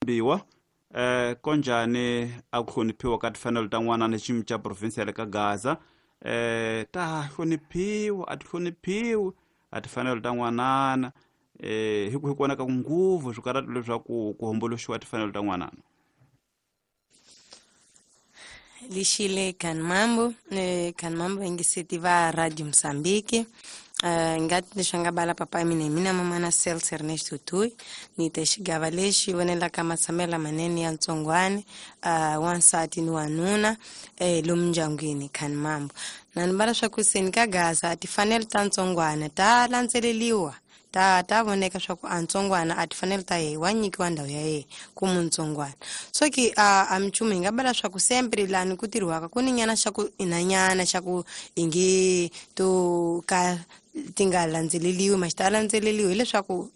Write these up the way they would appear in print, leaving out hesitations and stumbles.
Rambiwa konjhani a ku hloniphiwa ka timfanelo ta n'wana ni xiyimo xa province ya le ka Gaza ta hloniphiwa a ti hloniphiwi a timfanelo ta n'wanana hi ku hi kona ka nguvu swikarhati leswaku ku homboloxiwa timfanelo ta n'wanana. Lixile Kanmambo, Kanmambo ingiseti va Radio Mozambique. Ngati leswi nga bala papa mina hi mina mamana Celso Ernesto Tui ni te xigava lexi vonelaka matshamelo lamanene ya ntsongwani wansati ni wanuna lomu ndyangwini Kanmambo. Na ni bala swa ku seni ka Gaza timfanelo ta ntsongwana ta landzeleriwa ta voneka swa ku a ntsongwana a tifanele ta yehe wa nyikiwa ndhawu ya yehe ku muntsongwana. So ki a minchumu hi nga bala swa ku sempre lani ku tirhiwaka ku ni nyana xa ku inanyana xa ku ingi to ka ti nga landzeleriwi ma xi ta landzeleriwi hileswaku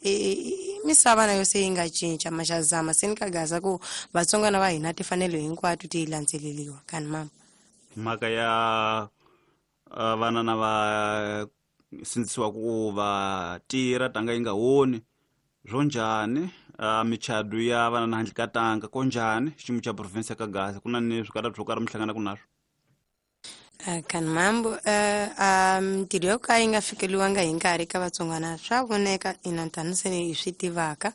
misava na yo se yi nga cinca ma xa zama se ni ka Gaza ku vatsongwana va hina timfanelo hinkwato ti landzeleriwa kani mama. Mhaka ya vana na va sindzisiwa ku va tirha tanga yi nga woni swo njhani michado ya vana na handle ka tanga ko njhani xiyimo xa province ka Gaza ku na ni swikarhati swo karhi mi hlanganaka naswo? Kanmambo mintirho yo ka yi nga fikeliwanga hi nkarhi ka vatsongwana swa voneka ina tani se hi swi tivaka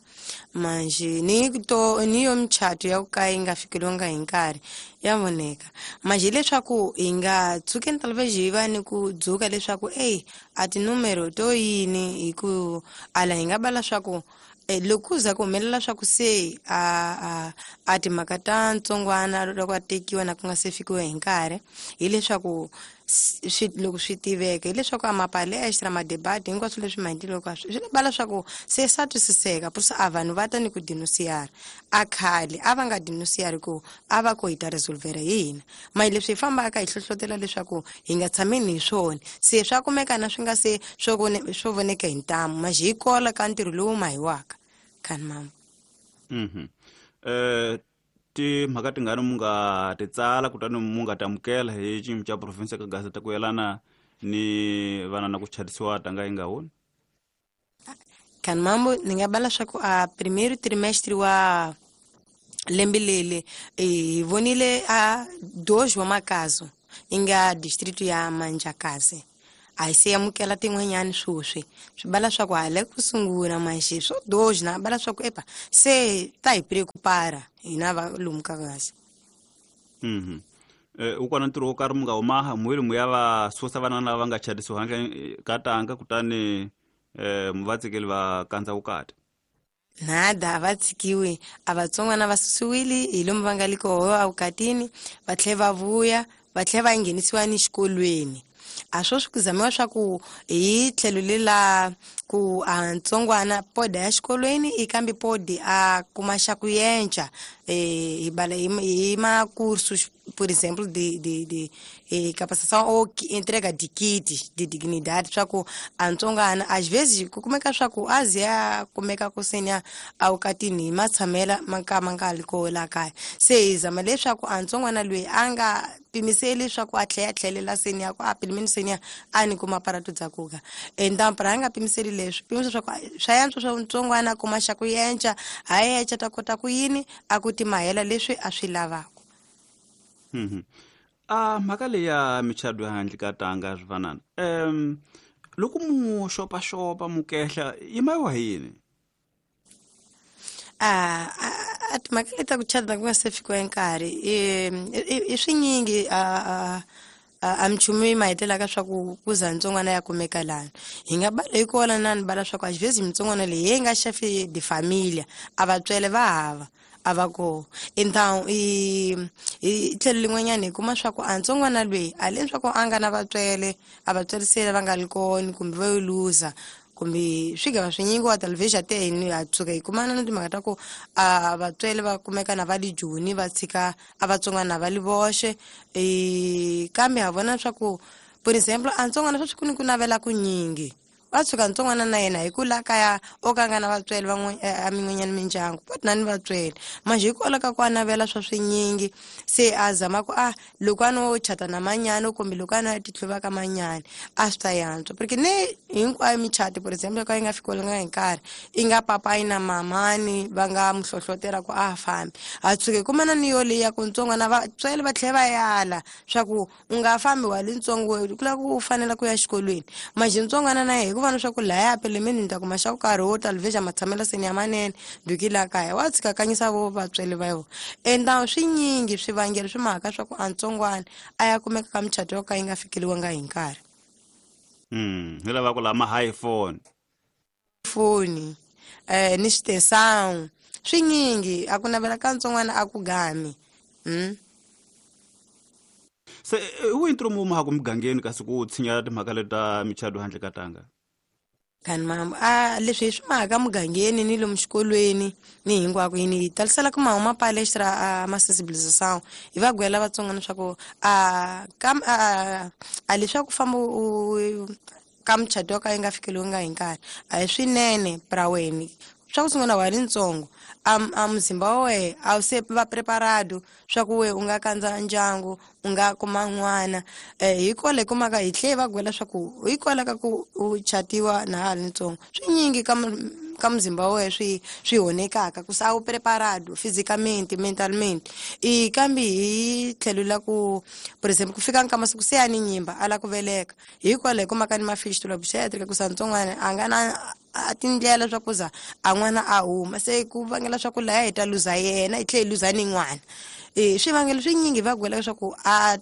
manjhe ni to ni yo michato ya ku ka yi nga fikeliwanga hi nkarhi ya voneka manjhe leswaku hi nga tshukeni talvez hi va ni ku dzuka leswaku ey a tinumero to yini hi ku ala hi nga bala swa ku loko ku za ku humelela swa ku se a timhaka ta ntsongwana loko a tekiwa na ku nga se fikiwa hi nkarhi hileswaku loko swi tiveka hileswaku a mapalestra madebate hinkwaswo leswi maendleloko swi bala swa ku se swa twisiseka purisa a vanhu va ta ni ku denunciara a khale a va nga denunciari ku a va ko hi ta resolvera hi hina mahi leswi hi fambaka hi hlohlotela leswaku hi nga tshameni hi swona se swa kumeka na swi nga se swo voneka hi ntamu maxi hi kola ka ntirho lowu mahiwaka kani mama. Timhaka tingani mu nga ti tsala kutani mu nga tamukela hi xiyimo xa province ka Gaza ta ku yelana ni vana na ku chatisiwa tanga yi nga woni? Kani mambo ni nga bala swa ku a primeiro trimestre wa lembe leli hi vonile a 2 wa makazo yi nga distrito ya Manjakazi a hi se amukela tin'wanyani swoswi swi bala swa ku hala ku sungula manjhe swo 2 na bala swa ku epa se ta hi preocupara hina va lomu ka Gaza. U kona ntirho wo karhi mu nga humaha muheli mu ya va susa vana lava nga chatisiwa handle ka tanga kutani mu va tsikeli va kandza vukati? Nada a va tshikiwi a vatsongwana va susiwile hi lomu va nga le koho evukatini va tlhela va vuya va tlhela va nghenisiwa ni xikolweni a swo swi ku zamiwa swa ku hi tlhelo lela ku a ntsongwana poda ya xikolweni i kambe podi a kuma xa ku yenca hi bala hi makursu por exemplo de capacitação ou entrega de kits de dignidade swa ku a ntsongwana às vezes ku kumeka swa ku a ze a kumeka ku senya evukatini hi matshamela ma ka ma nga li koho la kaya se hi zama leswaku a ntsongwana loyi a nga pimiseli swa ku a tlhela a tlhelela seni ya ku a pilimeni seni ya a ni kuma aparato dza kuka então para a nga pimiseli leswi pimisa swa ku swa yantswa swa ntsongwana a kuma xa ku yenca ha yenca ta kota ku yini a ku timahela leswi a swi lavaka. Mhaka leyi ya michado ya handle ka tanga swivanana loko mu xopaxopa mu kehla yi mayiwa hi yini? A timhaka leti ta ku chata ku nga se fikiwa nkarhi i swinyingi a minchumu yi mahetelaka swa ku ku za ntsongwana ya kumeka lani hi nga bala hi kona na ni bala swa ku às vezes mintsongwana leyi yi nga chefe de família a vatswele va hava a va koho então hi tlhelo lin'wanyana hi kuma swa ku a ntsongwana loyi a leswaku a nga na vatswele a vatswele se va nga li kona kumbe va yo luza kumbe swigava swinyingi wa television te hi a tshuka hi kumana na timhaka ta ku a vatswele va kumeka na va le Joni va tshika a vatsongwana va li voxe kambe ha vona swa ku por exemplo a ntsongwana sweswi ku ni ku navela ku nyingi. Va tshuka ntsongwana na yena hi ku la kaya o ka nga na vatswele van'we a min'wanyana mindyangu va na ni vatswele manjhe hikwalaho ka ku a navela swa swinyingi se a zama ku a loko a no chata na manyana kumbe loko a no ya titlhuva ka manyana a swi ta yantswa porque ne hinkwayo michato for example ka yi nga fikelelanga hi nkarhi i nga papayi na mamani va nga mu hlohlotela ku a fambi a tshuke kumana ni yo leyi ya ku ntsongwana vatswele va tlhela va yala swa ku u nga fambi wa le ntsongo ku lava ku u fanela ku ya xikolweni manjhe ntsongwana na yehe hikuva na swa ku laya pelemeni ni ta kuma xa ku karhi wo talveja matshamelo seni ya manene duki la kaya wa tshika kanyisa vo vatswele va yona enda swinyingi swivangelo swi mhaka swa ku a ntsongwana a ya kumeka ka muchato yo ka yi nga fikeliwanga hi nkarhi. Hi lava ku lama iPhone foni ni xitesawu swinyingi a ku navela ka ntsongwana a ku gami. Se wu ntirho mu maha ku mugangeni kasi ku tshinya timhaka leti ta michato handle ka tanga? Kani mama a leswi hi swi mhaka mugangeni ni lomu xikolweni ni hinkwako yini hi talisela ku mahuma palestra a ma sensibilisation hi va gwela vatsonga leswaku a ka a leswaku famba u ka muchato yo ka yi nga fikeliwanga hi nkarhi a hi swinene pra wena swa ku sungula wa ri ntsongo a muzimba wa wehe a wu se va preparado swa ku we u nga kandza ndyangu u nga kuma n'wana. Hi kwala hi kumaka hi tlhe va gwela swa ku hi kwala ka ku u chatiwa na ha ri ntsongo swinyingi ka muzimba wa wehe swi honekaka ku se a wu preparado physicamente mentalmente. I kambe hi tlhelo la ku for example ku fika ka masiku se ya ni nyimba a la ku veleka hi kwala hi kumaka ni mafistula obstetric ku sa ntsongwana a nga na a tindlela swa ku za a n'wana a huma se ku vangela swa ku laya hi ta luza yena hi tlhela hi luza ni n'wana. Swivangelo swinyingi va gwela leswaku a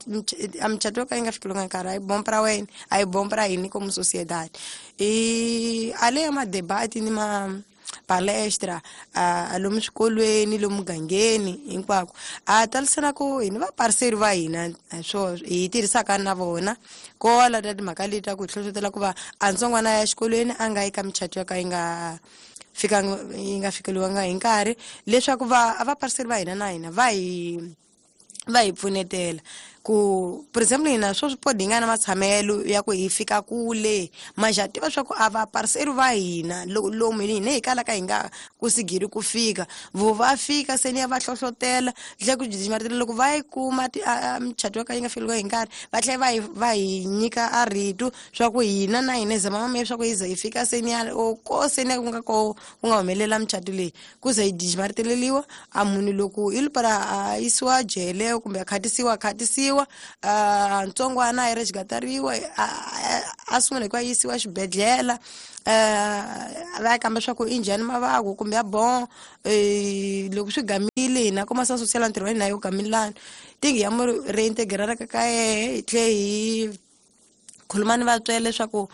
muchato yo ka yi nga fikeliwanga nkarhi a yi bompa ra wena a yi bompa ra hini como sociedade. A le ya madebati ni ma palestra a lomu swikolweni lomu mugangeni hinkwako a talisela ku hini vapariseri va hina swo hi tirhisaka na vona kola ta timhaka leti ta ku hi hlohlotela ku va a ntsongwana ya xikolweni a nga yi ka michato yo ka yi nga fikanga yi nga fikeliwanga hi nkarhi leswaku va a vapariseri va hina na hina va hi pfunetela ku for example hina swo swi podi hi nga na matshamelo ya ku hi fika kule manjhe ha tiva swa ku a vapariseri va hina lomu hina hi kalaka hi nga kusigiri ku fika vo va fika se ni ya va hlohlotela tlhe ku jijimatela loko va yi kuma michato yo ka yi nga fikeliwa hi nkarhi va tlhela va hi nyika a rito swa ku hina na hina hi zama mame swa ku hi ze hi fika se ni ya o ko se ni ya ku nga ko ku nga humelela michato leyi ku ze hi jijimatereliwa a munhu loko i para a yisiwa jele kumbe a khatisiwa ntsongwana a yi rejigatariwa a sungula hi ku a yisiwa xibedhlele va ya kamba swa ku i njhani mavabyi kumbe ya bon loko swi gamile hina kuma sa social ntirho wa hina yo gamilana tingi ya mu reintegrara ka yehe hi tlhe hi khuluma ni vatswele leswaku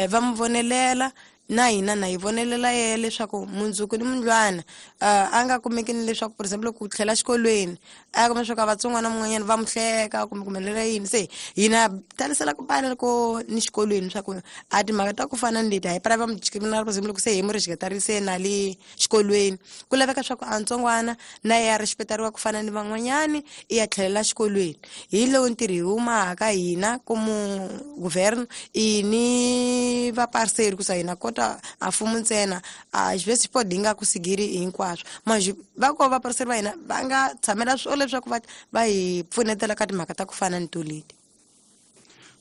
va mu vonelela na hina na hi vonelela yehe leswaku mundzuku ni mundlwana a nga kumeki ni leswaku for example ku tlhela xikolweni a kuma leswaku a vatsongwana mun'wanyana va mu hleka kumbe ku humelela yini se hina talisela ku bana loko ni xikolweni swa ku a timhaka ta ku fana ni leti a hi pra va mu discriminara for example loko se hi mu rejikatarise na le xikolweni ku laveka swa ku a ntsongwana na ye a respectariwa ku fana ni van'wanyani i ya tlhelela xikolweni hi lowu ntirho hi humaka hina komu governo i ni vapariseri ku sa hina kota a mfumo ntsena a xivese xipodi hi nga ku sigiri hinkwaswo manjhe va ko vapariseri va hina va nga tshamela swo leswaku va hi pfunetela ka timhaka ta ku fana ni to leti.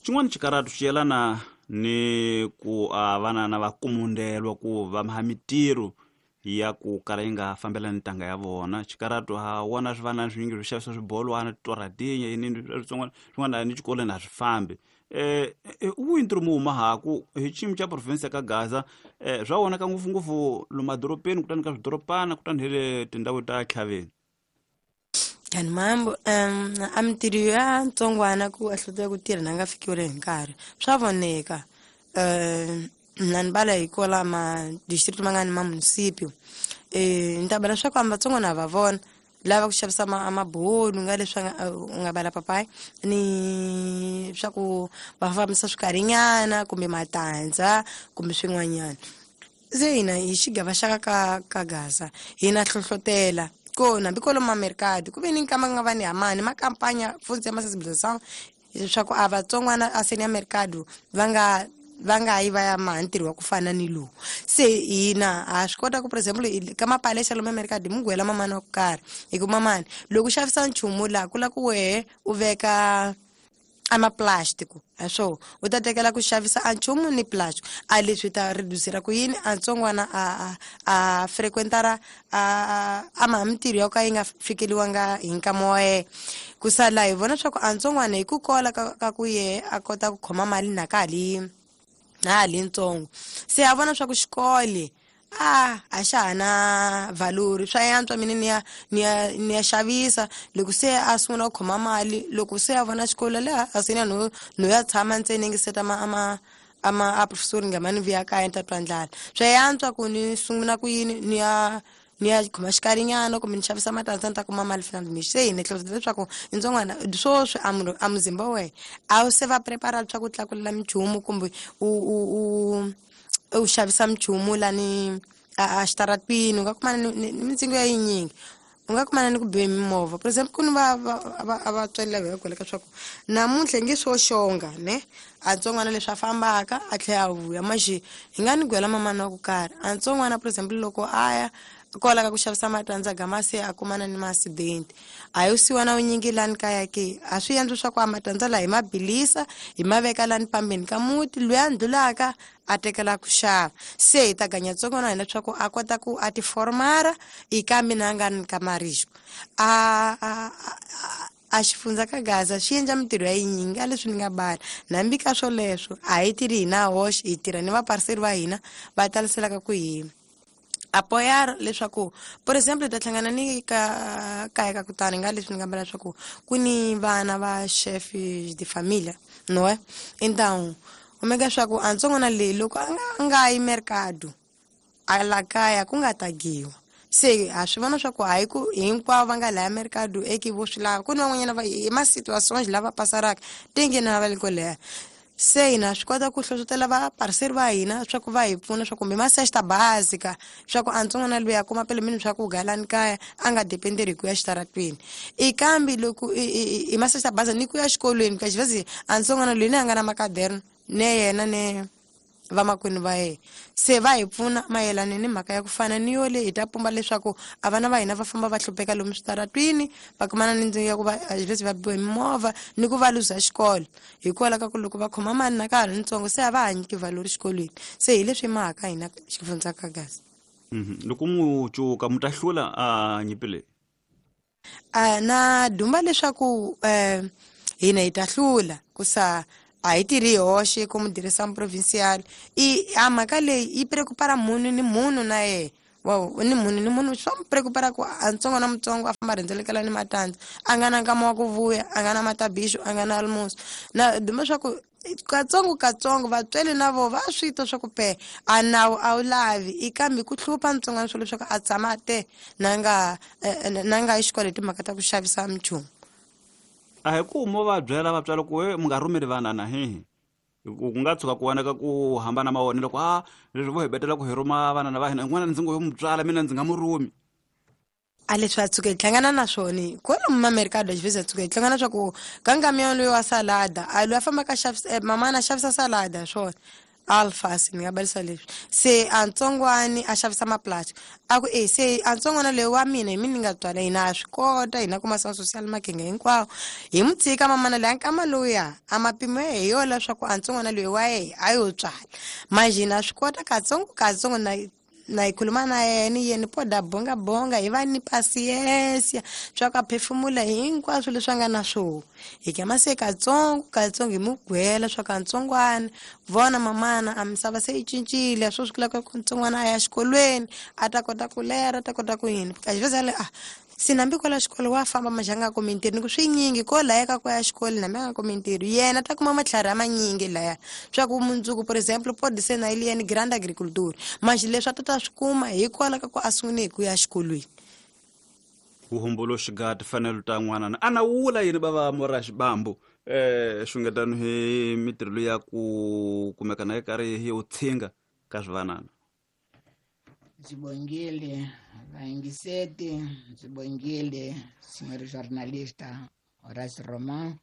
Xin'wana xikaratu xi yelana ni ku a vana va kumundelwa ku va maha mitirho ya ku kala yi nga fambelani ntanga ya vona. Xikaratu ha wona swi vana swinyingi swi xavisa swibolwana titoradinya yini swin'wana swin'wana ni xikolweni a swi fambi. Wihi ntirho mu humahaku hi xiyimo xa province ya ka Gaza swa vonaka ngopfungopfu lomu madorobeni kutani ka swidorobana kutani hi le tindhawu ta tlhaveni? Kani mambo a mintirho ya ntsongwana ku a hlotela ku tirha na nga fikiwile hi nkarhi swa voneka na ni bala hi kola ma district ma nga ni ma municipio ni ta bala swa ku amba vatsongwana va vona lava ku xavisa mabulu nga leswi u nga bala papayi ni swa ku va fambisa swikarinyana kumbe matandza kumbe swin'wanyana. Se hina hi xigava xa ka Gaza hina hlohlotela ko hambi kwalomu mamerikado ku ve ni nkama nga va ni hamani ma kampanya futhi ya ma sensibilisation leswaku a vatsongwana a seni ya merikado va nga va nga yi va ya maha ntirho wa ku fana ni lowu. Se hina ha swi kota ku, for example, ka mapalesa lomu emerikadi hi mugwela mamani wa ku karhi, hi ku mamani loko u xavisa nchumu laha ku la ku wehe u veka a maplastiko, a swo u ta tekela ku xavisa a nchumu ni plastic, a leswi ta reducera ku yini a ntsongwana a frequentara a maha mintirho ya ka yi nga fikeliwanga hi nkama wa yena. Ku sala hi vona swa ku a ntsongwana hi ku kola ka ku yehe a kota ku khoma mali na ka na ha li ntsongo, se a vona swa ku xikolo a xa ha na valori, swa yantswa mina ni ya xavisa. Loko se a sungula ku khoma mali, loko se a vona xikolo leha a se na no ya tshama ntsena ngi seta ama a professor nga mani vuya kaya ni ta twa ndlala, swa yantswa ku ni sungula ku yini ni ya khoma xikarinyana kumbe ni xavisa matandza ni ta kuma mali fana ni se hi ni hleketa leswaku ntsongwana swoswi a muzimba wa wena a wu se va prepara leswaku u tlakulela minchumu kumbe u xavisa minchumu lani a xitaratwini, u nga kumana ni mintsengo ya yinyingi, u nga kumana ni ku biwe mimovha. For example, ku ni va vatswari lava hi va swa ku namuntlha nge swo xonga ne a ntsongwana leswi a fambaka a tlhela a vuya maxi hi nga ni gwela mamana wa ku karhi a ntsongwana, for example, loko a ya kwala ka ku xavisa matandza gama se a kumana ni ma-accident, a yo siwa na vunyingi lani kaya ke a swi endli swa ku a matandza laha hi ma bilisa hi ma veka lani pambeni ka muti, loyi a ndlulaka a tekela ku xava. Se hi ta ganya ntsongwana hina leswaku a kota ku a tiformara i ka mina a nga ni ka marisco a xifundza ka Gaza xi endla mintirho ya yinyingi a leswi ni nga bala. Nambi ka swoleswo a hi tirhi hina hoxe, hi tirha ni vapariseri va hina va taliselaka ku hi apoyar leswaku, for example, ta hlangana ni ka kaya ka kutani nga leswi ni nga bala leswaku ku ni vana va chef de família, não é? Então omega swa ku a ntsongwana leyi loko a nga yi mercado a la kaya ku nga tagiwa, se ha swi vona swa ku hayi ku hinkwavo va nga laya mercado eki vo swi lava, ku ni van'wanyana va hi ma-situations lava pasaraka tinge na va le ko leha. Se hina swi kota ku hlohlotela vapariseri va hina swa ku va hi pfuna swa kumbe ma-cesta básica swa ku a ntsongwana loyi a kuma pele mini swa ku galani kaya a nga dependeri hi ku ya xitaratwini. I kambe loko i ma-cesta básica ni ku ya xikolweni ka xivezi a ntsongwana loyi ni a nga na makaderno ne yena ne vamakwenu va yena, se va hi pfuna mayelana ni mhaka ya ku fana ni yo leyi hi ta pumba leswaku a vana va hina va famba va hlupheka lomu switaratwini, va kumana ni ndzingo ya ku va leswi va biwa hi mimovha ni ku va luza xikolo hikwalaho ka ku loko va khoma mali na ka ha ri ntsongo se a va ha nyiki valori xikolweni. Se hi leswi mhaka hina xifundza ka Gaza. Loko mu cuka mu ta hlula a nyimpi leyi? Na dumba leswaku hina hi ta hlula ku sa a hi tirhi hoxe ku mudirhisa provincial i a mhaka leyi yi preocupara munhu ni munhu na yena ni munhu ni munhu swa mu preocupara ku a ntsongo na mutsongo a famba rhendzelekela ni matandza a nga na nkama wa ku vuya, a nga na matabixo, a nga na almoço. Na duma swa ku katsongo katsongo vatswari na vo va swi twa swa ku pe a nawu a wu lavi i kambe ku hlupha ntsongwana swo leswaku a tshama te na nga yi xikolo hi timhaka ta ku xavisa minchumu. A hi ku mo va byela vatswari ku mu nga rhumeli vana na hehe, ku nga tshuka ku vonaka ku hambana mavonelo ku a leswi vo hi betela ku hi rhuma vana va hina, n'wana ndzi ngo yo mu tswala mina ndzi nga mu rhumi. A leswi a tshuka hi hlangana na swona kwalomu mamerikado xivezi a tshuka hi hlangana swa ku ka nkamiya loyi wa salada a loyi a fambaka xavisa mamana a xavisa salada swona alfasi ni nga balisa leswi se a ntsongwani a xavisa maplastic a ku e se a ntsongwana loyi wa mina hi mina ni nga tswala hina a swi kota hina kuma sa social makinga hinkwawo hi mu tshika mamana loyi a nkama lowuya a mapimo ya hi yo leswaku a ntsongwana loyi wa yehe a yo tswala manje hina swi kota katsongo katsongo na hi khuluma na yena yena poda bonga bonga hi va ni pasiensia swa ku a phefumula hinkwaswo leswi a nga na swona hi kama se katsongo katsongo hi mu gwela swa ka ntsongwana vona mamana a misava se yi cincile swo swi kulaka ku ntsongwana a ya xikolweni a ta kota ku lera a ta kota ku yini kaxiveza a se nambi kwala xikolo wa famba maxi a nga kumi ntirho ni ku swinyingi ko laya ka ku ya xikolo nambi a nga kumi ntirho yena ta kuma matlhari a manyingi laya swa ku mundzuku, por exemple, pode ser na ele yena grande agriculture maxi leswi a ta ta swi kuma hikwalaho ka ku a sungule hi ku ya xikolweni. Vuhumbuluxi ga timfanelo ta n'wana a na wula yini bava mora xibambu xungetano hi mitirho leyi ya ku kumeka na yi karhi yi wu tshinga ka swivanana. Ndzi bongile vayingiseti, ndzi bongile senhor jornalista Horace Roman.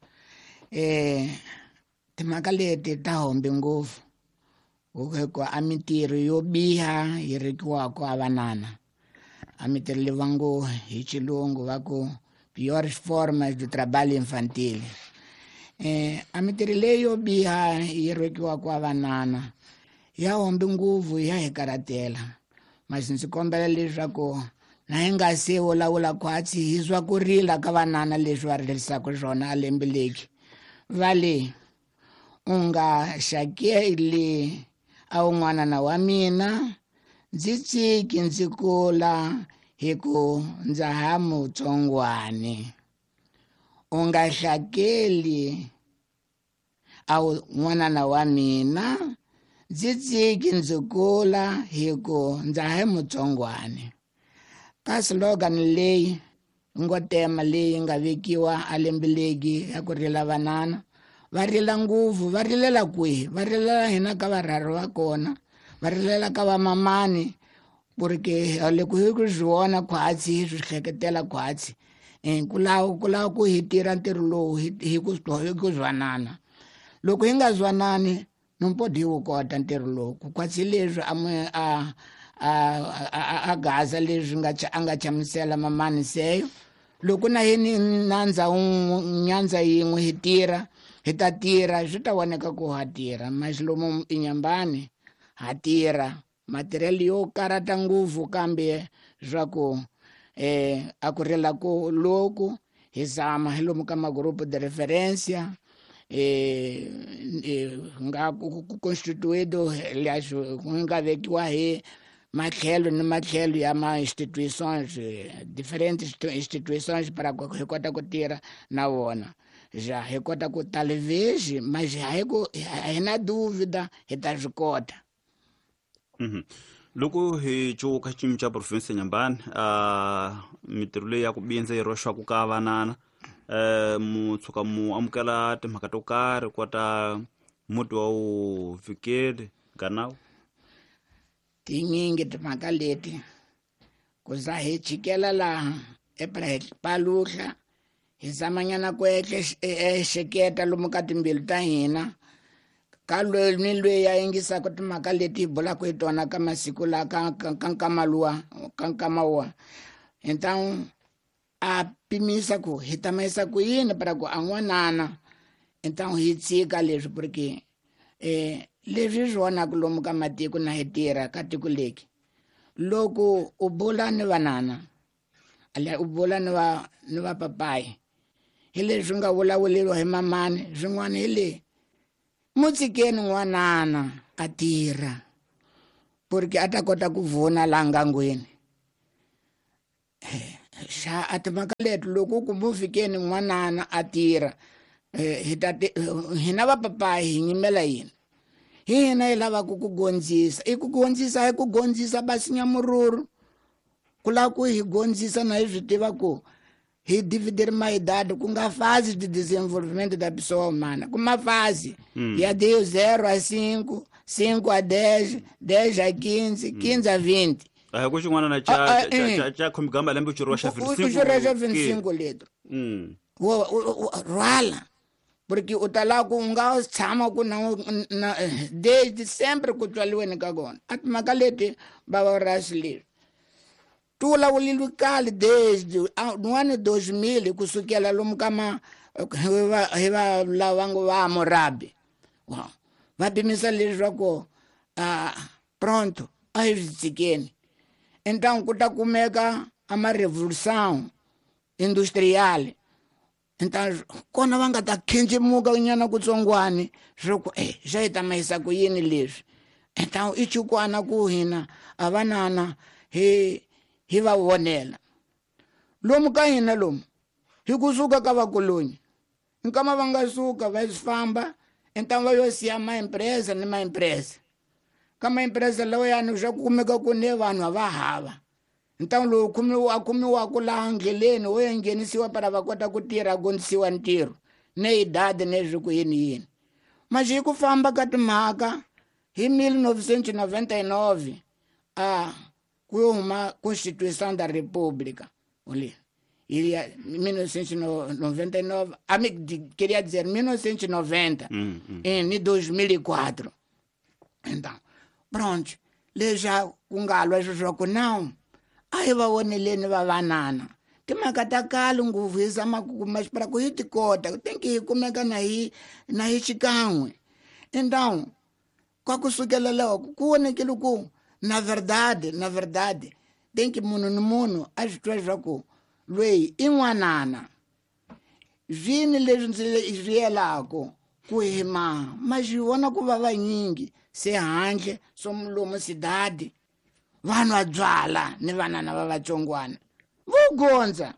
Timhaka leti ta hombi ngopfu. Ku a mintirho yo biha yi rekiwaka a vanana a mintirho leyi va ngo hi xilungu va ku piores formas de trabalho infantil. A mintirho leyi yo biha yi rekiwaka a vanana ya hombi nguvu ya hi karatela. Mas ndzi kombela leswaku na hi nga se vulavula khwatsi hi swa ku rila ka vanana leswi va rilisaka swona a lembe leki va le u nga xakeli a wun'wanana wa mina ndzi tshiki ndzi kula hi ku ndza ha mutsongwani. U nga hlakeli a n'wanana wa mina ndzi tshiki ndzi kula hi ku ndza ha mutsongwani. Ka slogan leyi ngo tema leyi nga vekiwa a lembe legi ya ku rila vanana va rila nguvu va rilela kwihi va rilela hina ka varhari va kona va rilela ka vamamani porque loko hi ku swi vona khwatsi hi swi hleketela khwatsi ku lava ku hi tirha ntirho lowu hi ku zwanana. Loko hi nga zwanani nompodi hi wu kota ntirho lowu ku khwatsi leswi a gaza leswi nga a nga chamusela mamani seyo loko na hini nandza nyandza yin'we hi tirha hi ta tirha swi ta voneka ku ha tirha mas lomu inyambani ha tirha matirhelo yo karata ngopfu kambe swa ku a ku rila ku loku hi zama hi lomu ka magrupo de referência nga ku constituído ku nga vekiwa hi matlhelo ni matlhelo ya ma instituições diferentes instituições para hi kota ku tirha na vona já hi kota ku talvez mas hi na dúvida hi ta swi kota. Loko hi cuka xiyimo xa province Nyambani mintirho leyi ya ku bindza yi roxaka ka vanana mu tshuka mu amukela timhaka to karhi kota muti wa wu fikeli ganawu tinyingi timhaka leti ku za hi chikela laha epaluhla hi zamanyana ku ehleketa lomu ka timbilu ta hina ka loyi ni loyi ya yingisaka timhaka leti hi bulaka hi tona ka masiku la ka nkama luwa ka nkama wa então a pimisa ku hi tamayisa ku yini para ku a n'wanana então hi tshika leswi porque leswi swi vonaka lomu ka matiko na hi tirha ka tiko leki loko u bula ni vanana u bula ni va papayi hi leswi nga vulavuleriwa hi mamani swin'wana hi le mu tshikeni n'wanana a tirha porque a ta kota ku vona laha ngangweni. Xa a timhaka leti loko ku mu fikeni n'wanana a tirha hi ta hina vapapayi hi nyimela yini hi hina hi lavaka ku gondzisa i ku gondzisa hi ku gondzisa basinya mururu ku lava ku hi gondzisa na hi swi tiva ku hi dividir uma idade ku nga fase de desenvolvimento da pessoa humana ku ma fase ya de 0 a 5 5 a 10 10 a 15 15 a 20 a ku xin'wana na cha khomigamba lembe u xa 25 leto rhwala porque u ta lava ku nga tshama ku na desde sempre ku tswaliweni ka kona a timhaka leti bava rasi leswi ti vulavuleliwi kale desde n'wana 2000 kusukela lomu ka ma hi va lava ngo va murabi va pimisa leswaku pronto a hi swi tshikeni então ku ta kumeka a ma revolução industrial então kona va nga ta khencemuka nyana kutsongwani swa ku xa hi ta mayisa ku yini leswi então i chukwana ku hina a vanana hi va vonela lomu ka hina lomu hi kusuka ka vakolonyi nkama va nga suka va famba então va yo siya maempresa ni maempresa ka maempresa lawa yani swa ku kumeka ku ne vanhu a va hava então lowu a kumiwaka laha ndleleni wo ya nghenisiwa para va kota ku tirha gondzisiwa ntirho ne idade ne swi ku yini yini mas hi ku famba ka timhaka hi 1999 a ku yo huma Constituição da República olha iria 1999 queria dizer 1990 em 2004 Então, pronto, leswi ku nga lwa sweswo ku não a hi va voneleni va vanana timhaka ta kale ngopfu hi zama ku kuma xipara ku hi ti kota tenki hi kumeka na hi na hi xikan'we. Então kwa kusukela loko ku vonekile ku na verdade tenki munhu ni munhu a swi twa leswaku lweyi i n'wanana zvini leswi ndzi swi yelako ku hima ma swi vona ku va vanyingi se handle swo lomu sidadi vanhu va byala ni vanana va vatsongwana vo gondza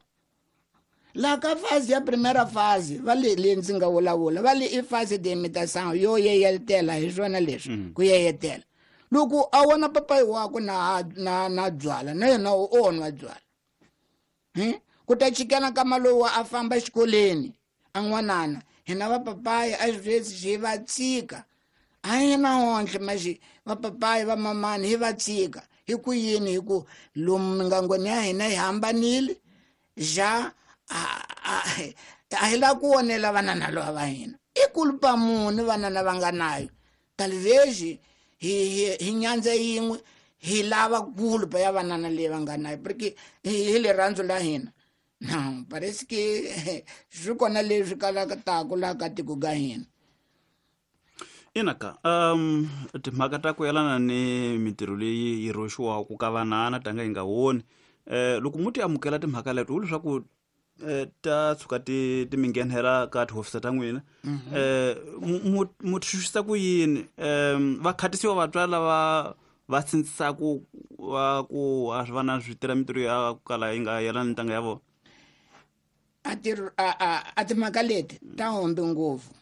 la ka fase ya primeira fase va le leyi ndzi nga vulavula va le i fase de imitação yo yeyetela hi swona leswi ku yeyetela loko a vona papayi wakwe na byala na yena o nwa byala ku ta chikana ka malowu a famba exikolweni a n'wanana hina vapapayi a sweswi hi va tshika a hi na onhle maxi vapapayi va mamani hi va tshika hi ku yini hi ku lomu mingangweni ya hina hi hambanile ja a hi lava ku onela vanana lava va hina i kulupa muni vanana va nga nayo talvez hi nyandza yin'we hi lava kulupa ya vanana leyi va nga nayo porque hi rirhandzu la hina. Não, parece que swi kona leswi kalaka taku laha ka tiko ka hina. Inaka timhaka ta ku yelana ni mintirho leyi yi rhoxiwaka ka vanana tanga yi nga woni loko mu ti amukela timhaka leto leswaku ta tshuka ti mi nghenela ka tihofisa ta n'wina mu ti xuxisa ku yini va khatisiwa vatswari lava va sindzisaku va ku a swi vana swi tirha mintirho ya ku kala yi nga yelana ni ntanga ya vona? A timhaka leti ta hombi ngopfu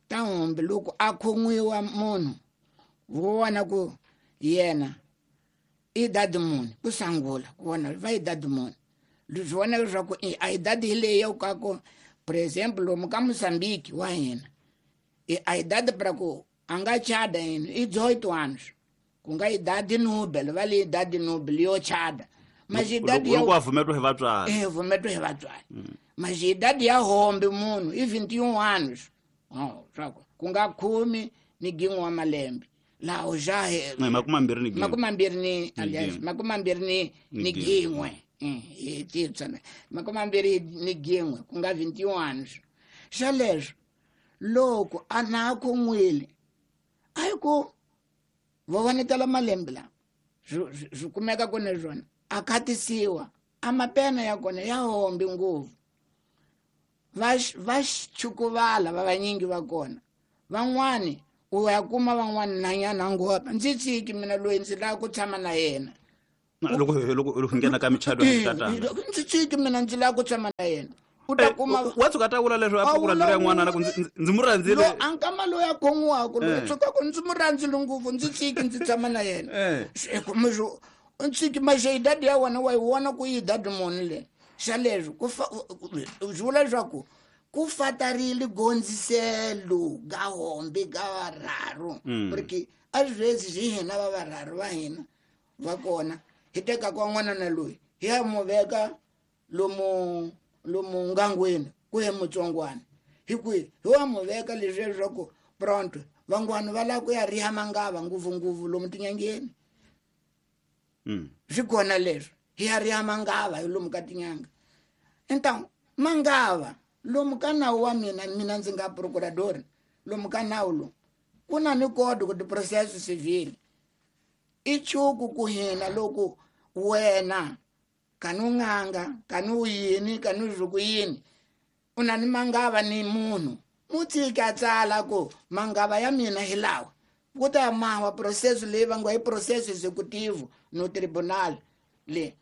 ta hombi loko a khomiwa munhu vo vona ku yena i dadi muni ku sangula ku vona va i dadi muni swi vona leswaku a idade hi leyi ya ka ku por exemplo lomu ka Moçambique wa hina a idade para ku a nga chada yini i 18 anos ku nga idade nobel va le idade nobel yo chada mas idade ya loko vumetiwa hi vatswari vumetiwa hi vatswari mas idade ya hombe munhu i 21 anos swa ku nga 11 wa malembe laho ja makume ni aliás makume ni gin'we hi titsana makume ni gin'we ku nga 21 anos xa leswo loko a na khon'wile a hi ku va vonetela malembe lawa swi kumeka ku ni swona a khatisiwa a mapena ya kona ya hombi ngopfu va chukuvala va vanyingi va kona van'wani u ya kuma van'wani nanyana ngopa ndzi tshiki mina loyi ndzi lava ku tshama na yena loko nghena ka michado ya tatana ndzi tshiki mina ndzi lava ku tshama na yena u ta kuma wa tshuka ta vula leswi a ku rhandzile n'wana ku ndzi mu rhandzile a nkama loyi a khon'waka loyi tshuka ku ndzi mu rhandzile ngopfu ndzi tshiki ndzi tshama na yena tshiki maxe idadi ya wena wa yi vona ku yi idadi muni le xa leswi ku swi vula leswaku ku fatarile gondziselo ga hombe ga varharu porque a sweswi hi hina va varharu va hina va kona hi teka kwa n'wana na loyi hi ya mu veka lomu ngangweni ku ye mutsongwana hi kwihi hi wa mu veka leswi leswaku pronto van'wana va lava ku ya riha mangava ngopfungopfu lomu tinyangeni swi kona leswi hi ya riha mangava hi lomu ka tinyanga. Então mangava lomu ka nawu wa mina ndzi nga procurador lomu ka nawu lomu ku na ni código de processo civil i chuku ku hina loko wena kani u n'anga kani u yini kani u zwi ku yini u na ni mangava ni munhu mu tshiki a tsala ku mangava ya mina hi lawa ku ta mawa processo leyi va ngo i processo executivo no tribunal le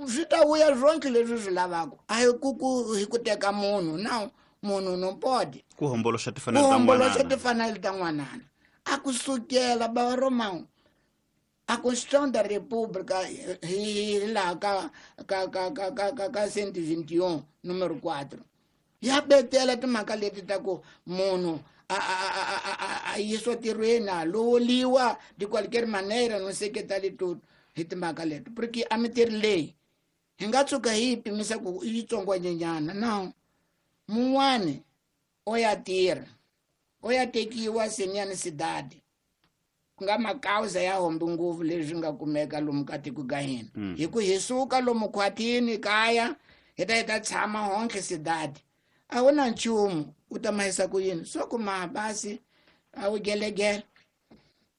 swi ta vuya swonke leswi swi lavaka a hi ku hi ku teka munhu na munhu no pode ku homboloxa timfanelo ta n'wanana a ku sukela ba Romão a Constituição da República hi laha ka ka ka ka ka ka ka 121 número 4 ya betela timhaka leti ta ku munhu a yisiwa tirhweni a lovoliwa de qualquer maneira não sei que tal e tudo hi timhaka leti porque a mintirho leyi hi nga tshuka hi yi pimisa ku i yitsongwanyenyana no mun'wani o ya tirha o ya tekiwa seniyani sidadi Ku nga makauza ya hombe ngopfu leswi nga kumeka lomu ka tiko ka hina. Hi ku hi suka lomu khwatini kaya hi ta hi ta tshama honke sidadi. A wu na nchumu u ta mahisa ku yini? So ku maha basi a wu gelegele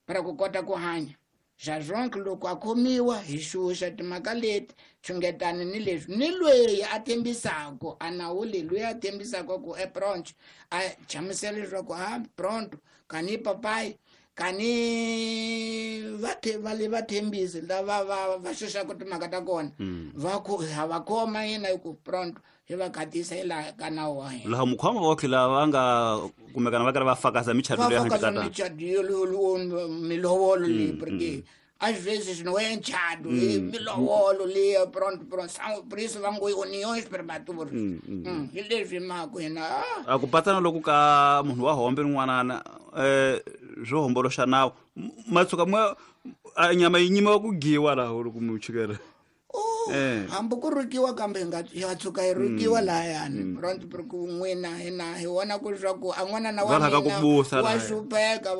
para ku kota ku hanya. Xazonke loko a khomiwa hi xuxa timhaka leti xungetani ni leswi ni loyi a tshembisaka a nawu leyi loyi a tshembisaka ku e pronto a chamusela leswaku a pronto kani papayi kani va le va tshembisi lava va xuxaka timhaka ta kona va ku ha va khoma yena hi ku pronto hi va khatisa hi laha ka nawu wa hina. Laha mukhoma va tlhela va nga kumekana va karhi va fakaza michato leyi handle ka tana. Michato yo milovolo leyi porque às vezes não é enchado, milovolo leyi pronto pronto são por isso va ngo uniões prematuras. Hi leswi mhaka hina. A ku patsana loko ka munhu wa hombe n'wanana swo homboloxa nawu matsuka mwa nyama yi nyimiwa ku giwa laha loko mu chikela. Hambi ku rukiwa kambe ya tshuka yi rukiwa lahayani pronto porque n'wina hina hi vona ku leswaku a n'wanana wa mina wa hlupheka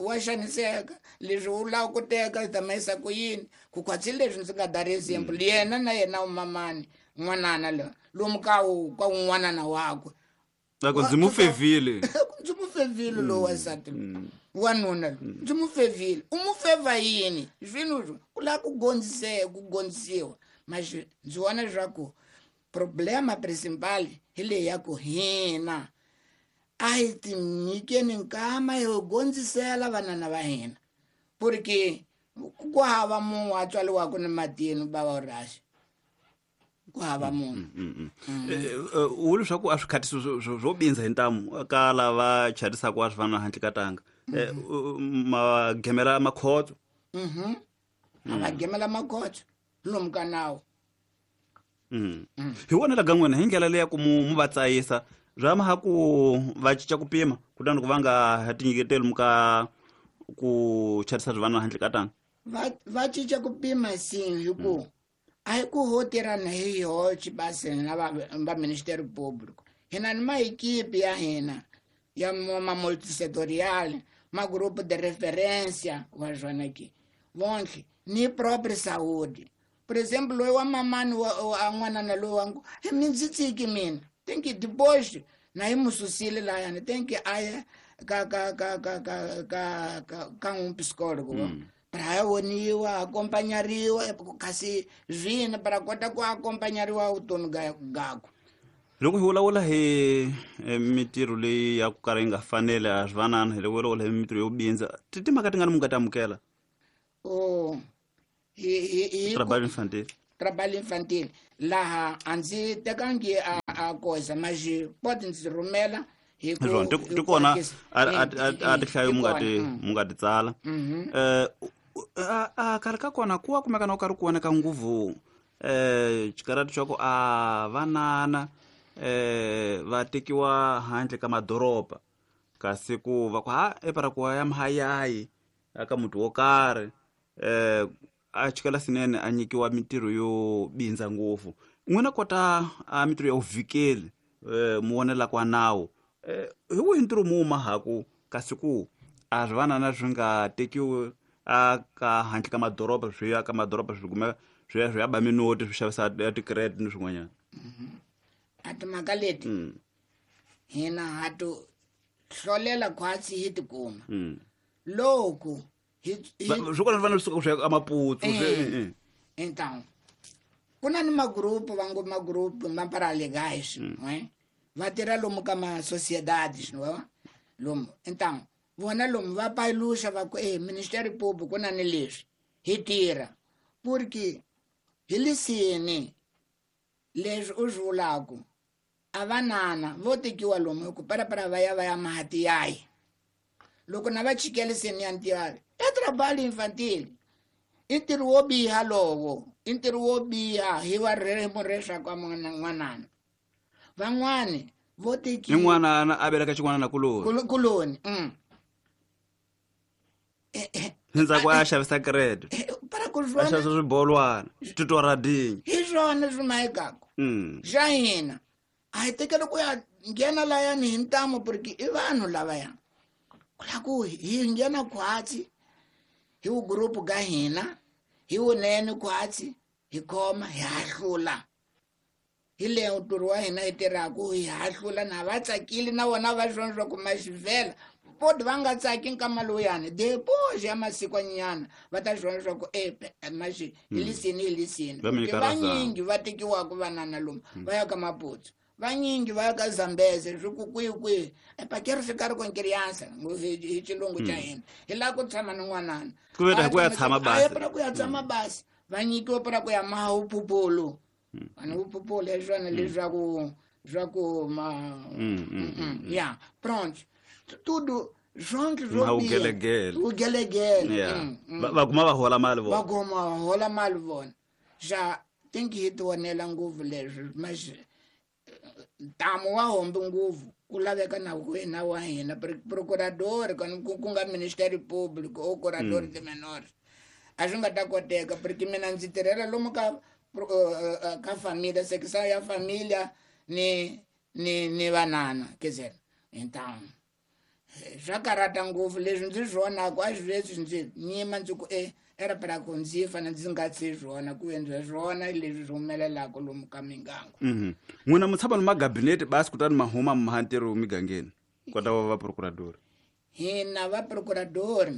wa xaniseka leswi u lava ku teka hi ta mahisa ku yini ku khwatsi leswi ndzi nga dari example yena na yena u mamani n'wanana loyi lomu ka ka un'wanana wakwe loko ndzi mu fevile ndzi mu fevile lowu wansati wanuna ndzi mu fevile u mu feva yini swilo ku lava ku ku gondzisiwa mas ndzi vona leswaku problema principal hi leyi ya ku hina a hi tinyikeni nkama hi gondzisela vanana va hina porque ku hava munhu a tswaliwaka ni matini bava raxi ku hava munhu. U leswaku a swi khatisi swo bindza hi ntamu ka lava charisaka wa swi vana handle ka tanga magemela makhotso. A va gemela makhotso lomu ka nawu. Hi wona laga n'wina hi ndlela leya ku mu va tsayisa bya maha ku va cinca ku pima kutani ku va nga tinyiketeli mu ka ku charisa swi vana handle ka tanga. Va cinca ku pima sin hi ku a hi ku ho tirhana hi hoxe basi na va Ministério Público hina ni maekipe ya hina ya ma multisectorial ma grupo de referência wa swona ke vonke ni própria saúde. Por exemplo loyi wa mamani wa n'wanana loyi wa ngo mi ndzi tshiki mina tem que depois na hi mu susile lahayani tem que a ya ka ka ka ka ka ka ka ka un psicólogo para ya voniwa acompanhariwa kasi zvina para kota ku acompanhariwa vutomi gakwe. Loko hi vulavula hi mitirho leyi ya ku kala yi nga faneli a swi vanana hi loko vulavula hi mitirho yo bindza timhaka ti nga ni mu nga ti amukela. Trabalho infantil. Trabalho infantil laha a ndzi tekangi a koza mas pode ndzi rhumela hi ku ti kona a tihlayo mu nga ti tsala. A karhi ka kona ku wa kumeka na u karhi ku voneka nguvu xikarati xa ku a vanana va tekiwa handle ka madoroba kasi ku va ku ha epara ku ya mahayayi aka muti wo karhi a chikela swinene a nyikiwa mitirho yo bindza ngopfu. N'wina kota a mitirho ya vuvikeli mu vonela kwa nawu hi wihi ntirho mu mahaku kasi ku a swi vanana swi nga tekiwi a ka handle ka madoroba swi ya ka madoroba swi kumeka swi ya ba minoti swi xavisa ti-credit ni swin'wanyana. A timhaka leti hina ha to hlolela khwatsi hi tikuma loko swi kona swi fanele swi suka swi ya eMaputo. Então ku na ni magrupu va ngo magrupu ma paralegais va tirha lomu ka ma sociedades lomu. Então vona lomu va paluxa va ku Ministério Público ku na ni leswi hi tirha porque hi lisini leswi u swi vulaku a vanana vo tekiwa lomu hi ku parapara va ya va ya mahatiyayi loko na va chikeliseni ya ntivari i trabalho infantil i ntirho wo biha lowo i ntirho wo biha hi wa ririmi leswaku a n'wanana van'wani vo tekiwa ni n'wanana a veleka xin'wanana kuloni kuloni endzhaku a xavisa credit para ku a xavisa swibolwana titoradinyi hi swona swi mahekaka xa hina a hi tekeli ku ya nghena layani hi ntamu porque i vanhu lavaya ku lava ku hi nghena khwatsi Hi wu group ga hina, hi wunene khwatsi, hi khoma hi hahlula. Hi leyo ntirho wa hina hi tirhaku hi hahlula na va tsakile na vona va swona swa ku maxivhela. Poti va nga tsaki nkama lowuyani depois ya masikwanyana va ta swona swa ku maxi hi lisini hi lisini. Va mi nyika Vanyingi va tekiwaka vanana lomu va ya ka Maputsu, vanyingi va ya ka Zambeze, swi ku kwihi kwihi epakeri swi karhi con criança hi xilungu xa hina hi lava ku tshama ni n'wanana. Ku ve ku ya tshama basi. A ya para ku ya tshama basi, va nyikiwa para ku ya maha uphuphulu. Vanhu uphuphulu hi swona leswaku swa ku ma ya pronto tudo zonke Ma ugelegele. Ugelegele. Yeah. Va kuma va hola mali va vona. Kuma va hola mali vona. Xa tinki hi tionela ngopfu leswi mas ntamu wa hombi ngopfu ku laveka na wena wa hina procurador ku nga Ministério Público ou curador de menores a swi nga ta koteka porque mina ndzi tirhela lomu ka ka família, secção ya família ni vanana, quer dizer, então swa karhata ngopfu leswi ndzi swi vonaka a swi leswi ndzi nyima ndzi ku era para ku ndzi fane ndzi nga tshi swona ku endla swona leswi swi humelelaka lomu ka mingango. N'wina mu tshama ni magabinete basi kutani ma huma ma ntirho migangeni kota va va procurador. Hina va procurador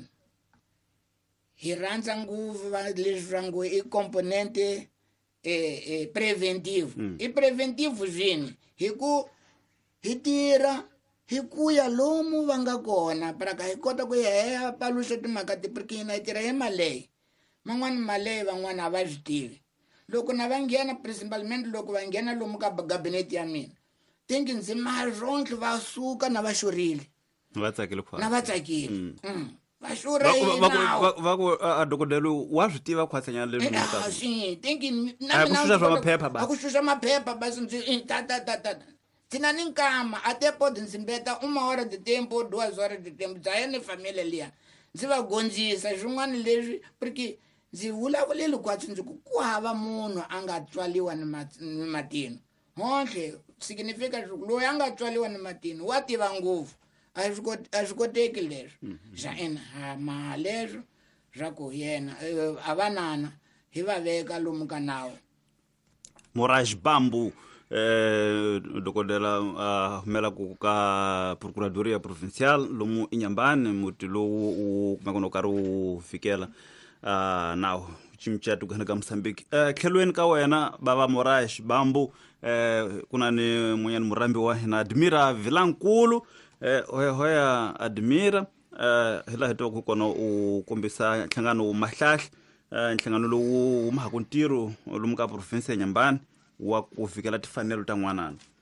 hi rhandza ngopfu va leswi swa ngo i componente preventive. I preventive swini hi ku hi tirha hi ku ya lomu va nga kona para ka hi kota ku ya hi ya paluxa timhaka ti porque hina hi tirha hi maleyi man'wani maleyi van'wani a va swi tivi loko na va nghena principalmente loko va nghena lomu ka gabinete ya mina tinki ndzi marontle va suka na va xurile. Va tsakile khwatsi. Na va tsakile. Va xurha hi nawu. Va ku a dokodela wa swi tiva khwatsanyana leswi Ah, sim, tem que A ku xuxa swa maphepha basi. A ku xuxa maphepha basi ndzi ta ta ta ta. Thina ni nkama até pode ndzi mbeta 1 hora de tempo, 2 horas de tempo, dza ni família liya. Ndzi va gondzisa swin'wana leswi porque ndzi vulavulile khwatsi ndzi ku ku hava munhu a nga tswaliwa ni matino. Honhle significa loyi a nga tswaliwa ni matino wa tiva ngopfu. A swi koteki leswi. Xa ina ha ma leswo swa ku yena a vanana hi va veka lomu ka nawu. Moraes Bambu dokodela humela ku ka Procuradoria Provincial lomu Inhambane muti lowu wu kumeka no karhi wu fikela nawu xiyimo xa tikweni ka Mozambique. Tlhelweni ka wena bava Moraes Bambu ku na ni mun'wanyana murhambi wa hina Admira Vilankulu. Hoya hoya Admira, hi laha hi tivaka kona u kombisa nhlangano Mahlahla, nhlangano lowu humaka ntirho lomu ka province ya Inhambane wa ku fikela timfanelo ta n'wanana.